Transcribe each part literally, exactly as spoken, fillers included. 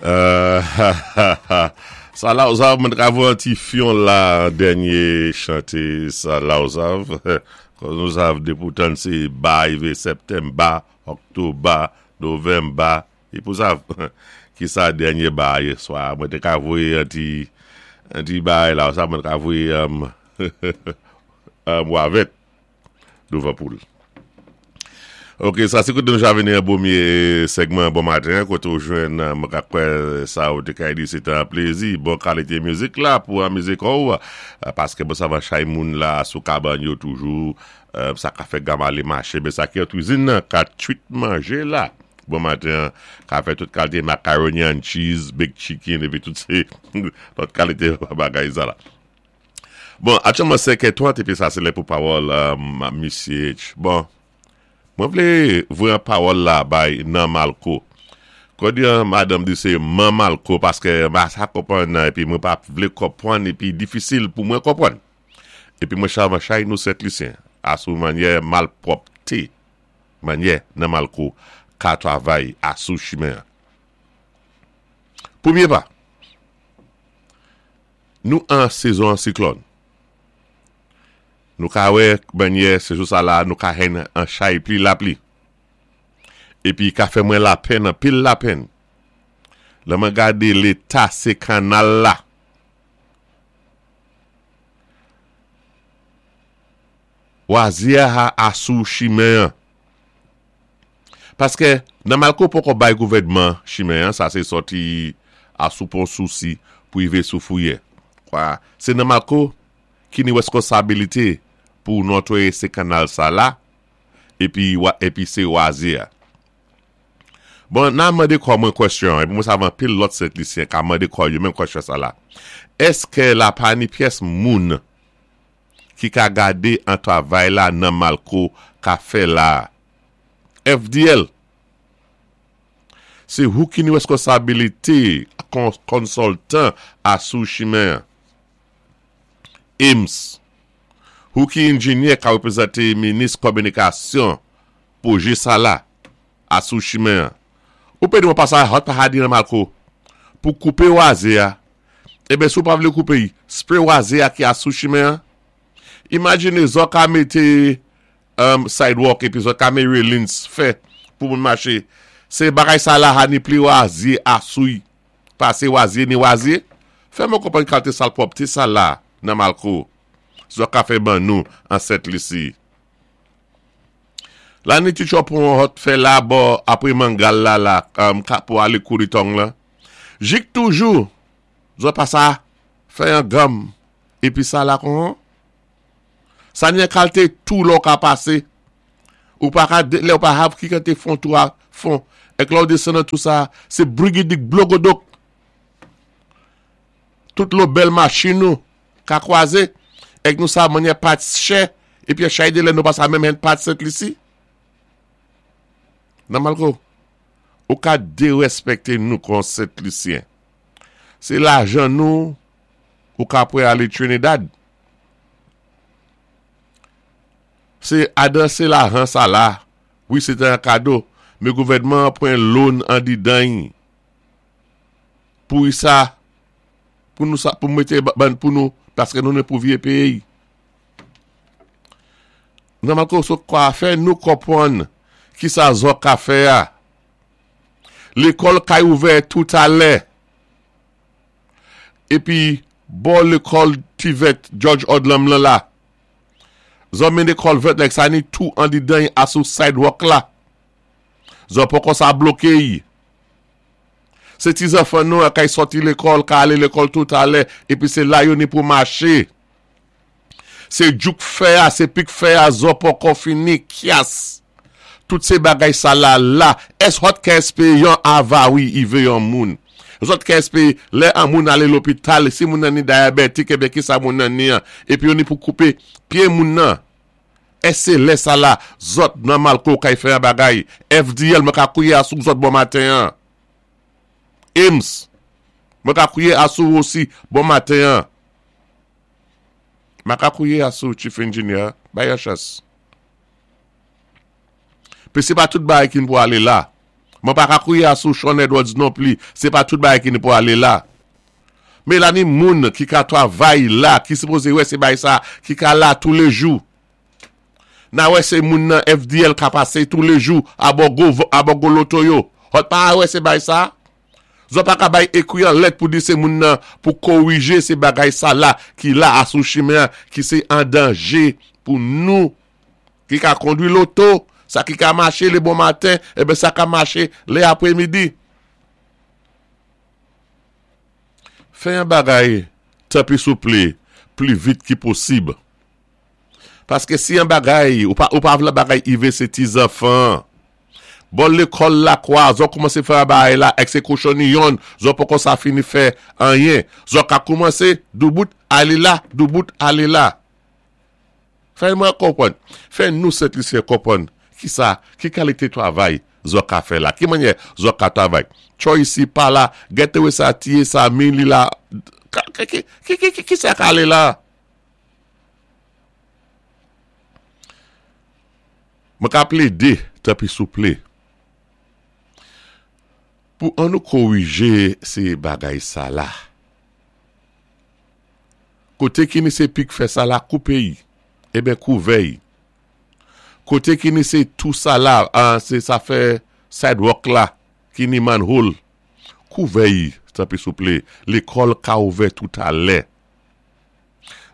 Euh, sa la ou sav, mwen ka voye an ti fyon la dènyé chanté sa la ou sav. Kon nou sav dépoutan sé ba ivé Septemba, Oktoba, Novemba, é pou sav ki sa dènyé ba yé swa. Mwen té ka voyé an ti an ti bay la ou sav mwen ka voyé um, um, wavèt douvan poul. Ok, sa sé koté nou ja vini an pwémyé segman bon maten, koté ou jwenn mwen ka kwè sa ou té ka di sé an plézi, bon kalité mizik la pou anmizé kò, paské bon sa va chay moun la sou kabann yo toujou, sa ka fè gam alé maché, ben sa ki an kwizin nan, ka twit manjé la. Bon maten, ka fè tout kalité macaroni and cheese, baked chicken, épi tout sé, tout kalité bagay sa la. Bon, aktyèlman senkè trant, épi sa sé lè pou pawòl Misye H. Bon, mwen vlé voyé an pawòl la bay nan Malko. Kon di an madanm di sé man Malko, paské ma sa konpwann nan, épi mwen pa vlé konpwann, épi difisil pou mwen konpwann. Épi mwen chavan chay nou Sent Lisyen, asou manyè malpwòpté, manyè nan Malko, ka travay asou chimen. Pwémyé pa, nou an sezon siklòn. Nou ka wè manyè sezon sa la, nou ka hen an chay pli lapli. Épi ka fè mwen lapenn, an pil lapenn. Lè mwen gadé léta sé kanal la. Wazyè a asou chimen an. Paské nan Malko poko bay gouvèdman chimen an, sa sé sòti asou pon sousi pou ivé sou Fouyè. Kwa, sé nan Malko ki ni weskonsabilité pou notwayé sé kanal sa la, épi, épi sé wazyè. Bon, nan mandé kò mwen kwèsyon, épi mwen sav anpil lòt Sent Lisyen ka mandé kò yo menm kwèsyon sa la. Èské la pa ni pyès moun ki ka gadé an travay la nan Malko ka fè la? F D L, sé ou ki ni weskonsabilité konsiltan asou chimen. I M S, ou ki enjinyè ka wépwézanté minis kominikasyon pwojé sa la asou chimen. Ou pé di mwen pa sa hot pa hadi nan Malko pou koupé wazyè a. Eben sou pa vlé koupé yi, spray wazyè a ki asou chimen. Imajine zòt ka mété um, sidewalk épi zòt ka mé railings fè pou moun maché. Sé bagay sa la ha ni pli wazyè asou yi. Pasé wazyè ni wazyè. Fè mwen konpwann kalité salpwòpté sa la nan Malko. Zòt ka fè ban nou an Sent Lisi. La ni ti chopon hot fè la bo apre mangal la la um, ka pou ale kouri tong la. Jik toujou, zòt pa sa fè yon gam épi sa la kon. Sa ni an kalité tou lò ka pasé. Ou pa ka, lè ou pa hav ki kante fon tou a fon. Ek lò ou desann nan tou sa, sé brigidik blogodok. Tout lò bèl machin nou ka kwazé. Ek nou sa manyè parts chè, épi a chay de lè nou pa sa menm hen parts Sent Lisi. Nan Malko, ou ka déréspèkté nou kon Sent Lisyen. Sé lajan nou, ou ka pwé alé Trinidad. Sé adan sé lajan sa la, wi sé an kado, mé gouvèdman pwan loan an di dan pou sa, pou nou sa, pou mété ban pou nou, paské nou né pou vyé péyi. Nan Malko, so kwa fè nou konpwann ki sa zòt ka fè a. Lékòl kay ouvè tout alè. Épi, bò lékòl T V E T George Odlum lan la. Zòt mété culvert lèk sa ni tou an di dan asou sidewalk la. Zòt poko sa bloké yi. Sé ti zanfan nou a kay sòti lékòl, ka alé lékòl tout alè, épi sé la yo ni pou maché. Sé djouk fè a, sé pik fè a, zòt poko fini, kyas. Tout sé bagay sa la la, ès hot ka èspéwé yon avari ivé yon moun? Zòt ka èspéwé, lè an moun alé lopital, si moun nan ni dyabetik, ébyen ki sa moun nan ni an, épi yo ni pou koupé pyé moun nan. Ès sé lè sa la, zòt nan Malko kay fè an bagay? F D L, mwen ka kwié asou zòt bon maten an. I M S, mwen ka kwié asou osi bon maten an. Mwen ka kwié asou chief engineer, bay an chans. Pi sé pa tout bagay ki pou alé la. Mwen pa ka kwié asou Sean Edwards non pli. Sé pa tout bagay ki ni pou alé la. Mé la ni moun ki ka twavay la, ki sipozé wè sé bagay sa, ki ka la touléjou. Na wè sé moun nan F D L ka pasé touléjou a bò gwo, a bò gwo loto yo. Zòt pa wè sé bagay sa? Zòt pa ka bay ékwi an lèt pou di sé moun nan pou kowijé sé bagay sa la ki la asou chimen ki sé an danjé pou nou ki ka kondwi loto, sa ki ka maché lé bon maten, ében sa ka maché lé apwémidi. Fè yon bagay, tanpwi souplé, pli vit ki posib. Paské si yon bagay, ou pa, ou pa vlé bagay ivé sé ti zanfan, bò lékòl la kwa, zòt koumansé fè yon bagay la, èk sé kochonni yon, zòt poko sa fini fè anyen. Zòt ka koumansé, doubout, alé la, doubout, alé la. Fè mwen konpwann, fè nou Sent Lisyen konpwann ki sa, ki kalité twavay zòt ka fè la, ki mannyè zòt ka twavay. Tcho isi pa la, gètè wè sa tiyé sa min li la, ki, ki, ki, ki, ki sa ka alé la? Mwen ka plédé, tanpwi souplé, pou an nou kowijé sé bagay sa la. Koté ki ni sé pik fè sa la koupé y, ében kouvè y. Koté ki ni sé tou sa la, an, sé sa fè sidewalk la, ki ni manhole, kouvè y, tanpwi souplé, lékòl ka ouvè toutalè.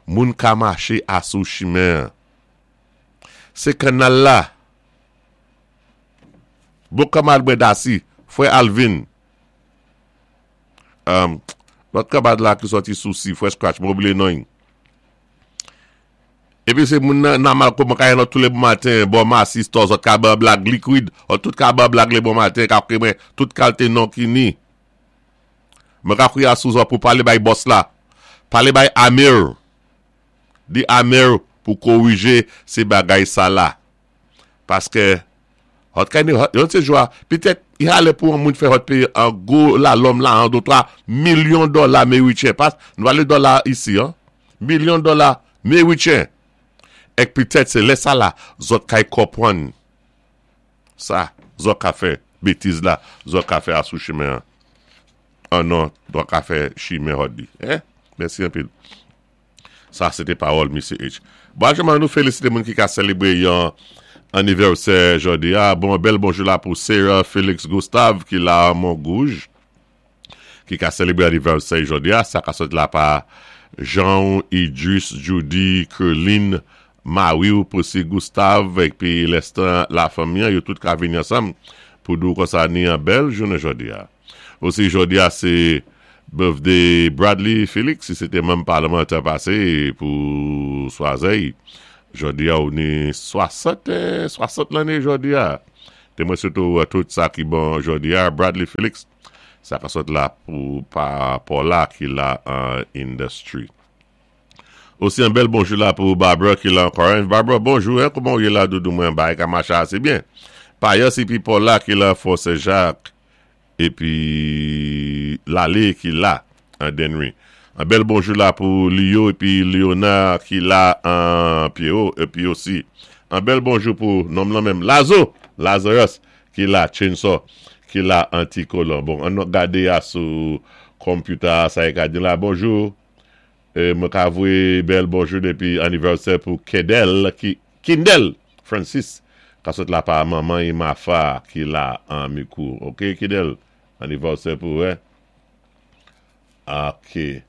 Moun ka maché asou chimen. Sé kannal la. Bon kanmad mwen dasi, fwè Alvin. Um, lòt kanmad la ki sòti sousi, fwè Scratch, mwen oubliyé non. Épi sé moun nan nan mal kouman kay nan tou lé bon maten, bon masi store, zòt ka ban blag liquid, ou tout ka ban blag lé bon maten, ka kwe mwen tout kalité non ki ni. Mwen ka kwié asou zòt pou palé bay boss la. Palé bay Amir. Di Amir pou kowijé sé bagay sa la. Paské hot kay ni hot, yon sé jwa, pitèt i alé pou an moun fè hot péyé an gwo la lòm la an do twa milyon dola méwitchen. Pas, nou palé dola isi, an. Milyon dola méwitchen. Èk pitèt sé lè sa la, zòt kay konpwann. Sa, zòt ka fè bétiz la, zòt ka fè asou chimen an. An non, zòt ka fè chimen hot di. Eh? Mèsi anpil. Sa, sé té pawòl Misye H. Bon, ajouman nou félisité moun ki ka sélébré yon anivèsè jòdi a. Bon, bèl bonjou la pou Sarah Félix Gustave ki la Montgouge, ki ka sélébré anivèsè jòdi a. Sa ka sot la pa Jean, Idris, Judy, Kerline, Marie, Possy Gustave, épi lèstan la fanmi, yo tout ka vini ansanm pou nou konsa ni an bèl jounen jòdi a. Osi jòdi a sé birthday Bradley Félix, si sé té manm palmantè pasé pou Swazey. Jòdi a ou ni swasant, swasant lanné jòdi a. Té mwen sitou tout sa ki bon jòdi a, Bradley Félix, sa ka sot la pou pa Paula ki la an industry. Osi an bèl bonjou la pou Barbara ki la ankò. Barbara, bonjou, hein, kouman ou yé la doudou mwen bagay ka maché asé byen. Payas épi Paula ki la Fort Saint-Jacques épi Lalé ki la an Denry. An bèl bonjou la pou Leo épi Léonard ki la an Pierrot épi osi. An bèl bonjou pou nonm lan menm Lazo, Lazarus ki la Chainsaw ki la Anticolon. Bon, an nou gadé a sou computer sa e ka di la bonjou. E mwen ka voyé bèl bonjou dépi anivèsè pou Kedel ki Kindel Francis ka sot la pa manman e Mafa ki la an Mikou. OK Kindel, anivèsè pou hein. OK.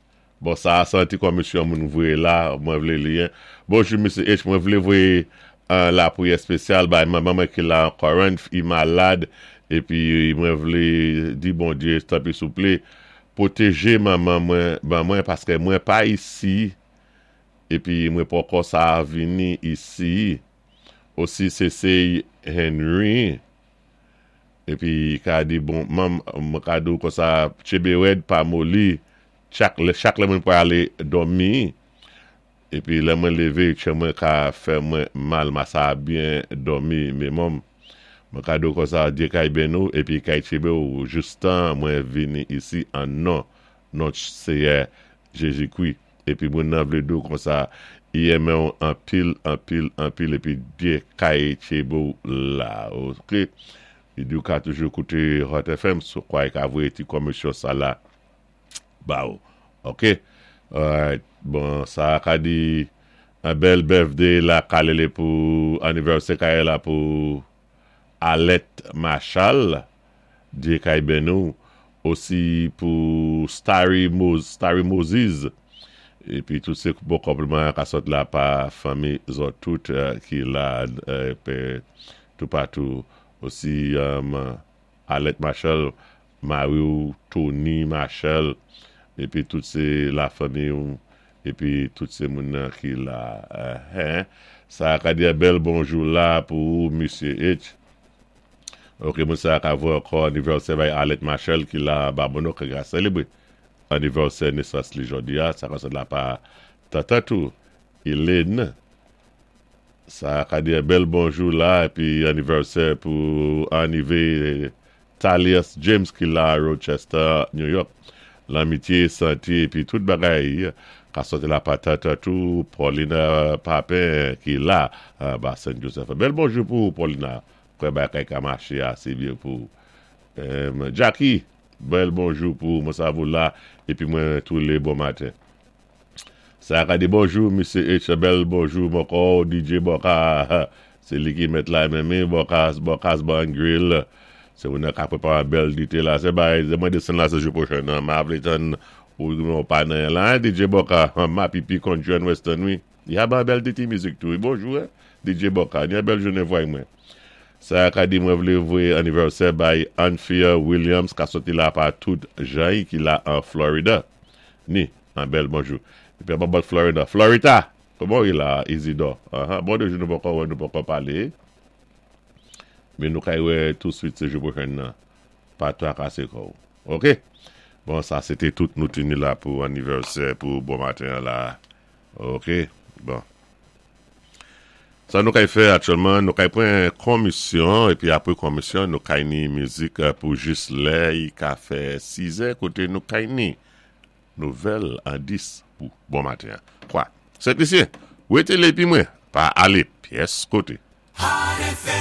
Bon, sa a santi kòm misye moun voyé la, mwen vlé li. Hein. Bonjou Misye H, mwen vlé voyé uh, la priyè spésyal bay manman mwen ki la an Corinth, i malad épi mwen vlé di Bondyé tanpwi souplé pwotéjé manman mwen, ban mwen paské mwen pa isi épi mwen poko sa vini isi. Osi sé sé Henry épi ka di bon mam mwen ka di kon sa tchébé rèd pa moli chak lè chak lè mwen pou alé dòmi épi lè mwen lévé tchè mwen ka fè mwen mal ma sa byen dòmi mé mom mwen ka di kon sa Dye kay beni ou épi kay tchébé ou jistan mwen vini isi an non non Séyè Jézi-Kwi épi mwen nan vlé di kon sa i renmen ou anpil anpil anpil épi Dye kay tchébé ou la. OK. I di ou ka toujou kouté Hot F M, sou kwa i ka voyé ti komisyon sa la ba ou. Ok? Alright, bon, sa ka di an bèl birthday la kalele pou anivèsè kaye la pou Alet Machal, Dye kay benou, osi pou Starry, Mo Starry Moses, epi tout sé bon konpliman ka sot la pa fanmi zòt tout euh, ki la euh, pe, tout patou. Osi um, Alet Machel, Mario Tony Machel, epi tout sé la fanmi ou, epi tout sé moun nan ki la. Uh, hein? Sa ka di bèl bonjou la pou Mesye H. Ok, moun sa ka voyé ankò anivèsè bay Alet Machel ki la Babonneau ki ka selebré anivèsè nesans li jodi a, sa ka sot la pa tata tou, Hélène. Sa ka di bèl bonjou la, epi anivèsè pou anivé Talias James ki la Rochester, New York. Lanmitye, santé, epi tout bagay ka soti la pa tata tou, Paulina Papin ki la, ba Saint Joseph. Bèl bonjou pou Paulina, kwè bagay ka maché asé byen pou. Um, Jackie, bèl bonjou pou mwen sa vou la, epi mwen tou lé bon maten. Sa ka di bonjou, Mesye H, bèl bonjou, moko, D J Boka, sé li ki mèt la menm, Bokas, Bokas Ban Grill, sé moun ka pwépawé bèl dité la, sé bay, sé mwen desann la sé jou pwochen nan, ma vlé tann ou nou pa nan la, D J Boka, ma pipi country and western, wi. Ya ba bèl dité mizik tou, bonjou, eh, D J Boka, ni bèl jounen vway mwen. Sa ka di mwen vlé voyé anivèsè bay Anfia Williams ka soti la pa tout jay ki la an Florida. Ni, an bèl bonjou. Epi an bòt Florida. Florida! Kouman i la, Isidore? Uh -huh. Bon de jou nou poko wè, nou poko palé. Men nou kay wè touswit sé jou pwochen nan. Pa twakasé kò ou. Ok? Bon, sa sé té tout nou tini la pou anivèsè pou bon maten la. Ok? Bon. Sa nou kay fè aktyèlman, nou kay pran komisyon, epi apwé komisyon, nou kay ni mizik pou jis lè i ka fè sis è, koté nou kay ni nouvèl an dis pou bon maten. Kwa? Sent Lisyen, wété la épi mwen, pa alé pyès koté. Hot F M.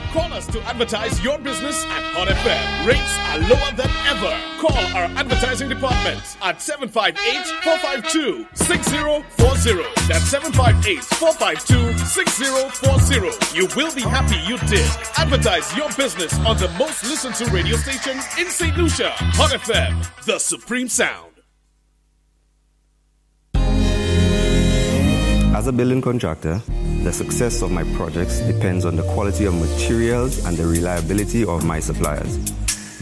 Call us to advertise your business at Hot F M. Rates are lower than ever. Call our advertising department at seven five eight, four five two, six zero four zero. That's seven five eight, four five two, six zero four zero. You will be happy you did. Advertise your business on the most listened to radio station in Saint Lucia. Hot F M, the supreme sound. As a building contractor, the success of my projects depends on the quality of materials and the reliability of my suppliers.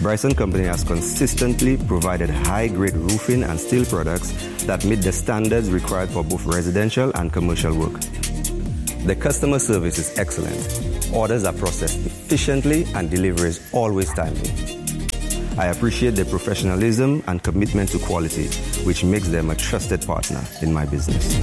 Bryson Company has consistently provided high-grade roofing and steel products that meet the standards required for both residential and commercial work. The customer service is excellent. Orders are processed efficiently and delivery is always timely. I appreciate their professionalism and commitment to quality, which makes them a trusted partner in my business.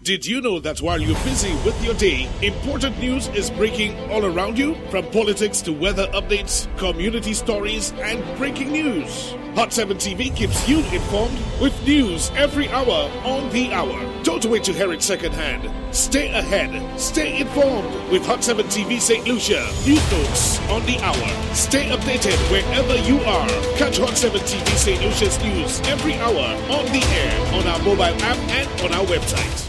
Did you know that while you're busy with your day, important news is breaking all around you? From politics to weather updates, community stories, and breaking news. Hot seven T V keeps you informed with news every hour on the hour. Don't wait to hear it secondhand. Stay ahead. Stay informed with Hot seven T V Saint Lucia. News notes on the hour. Stay updated wherever you are. Catch Hot seven T V Saint Lucia's news every hour on the air, on our mobile app, and on our website.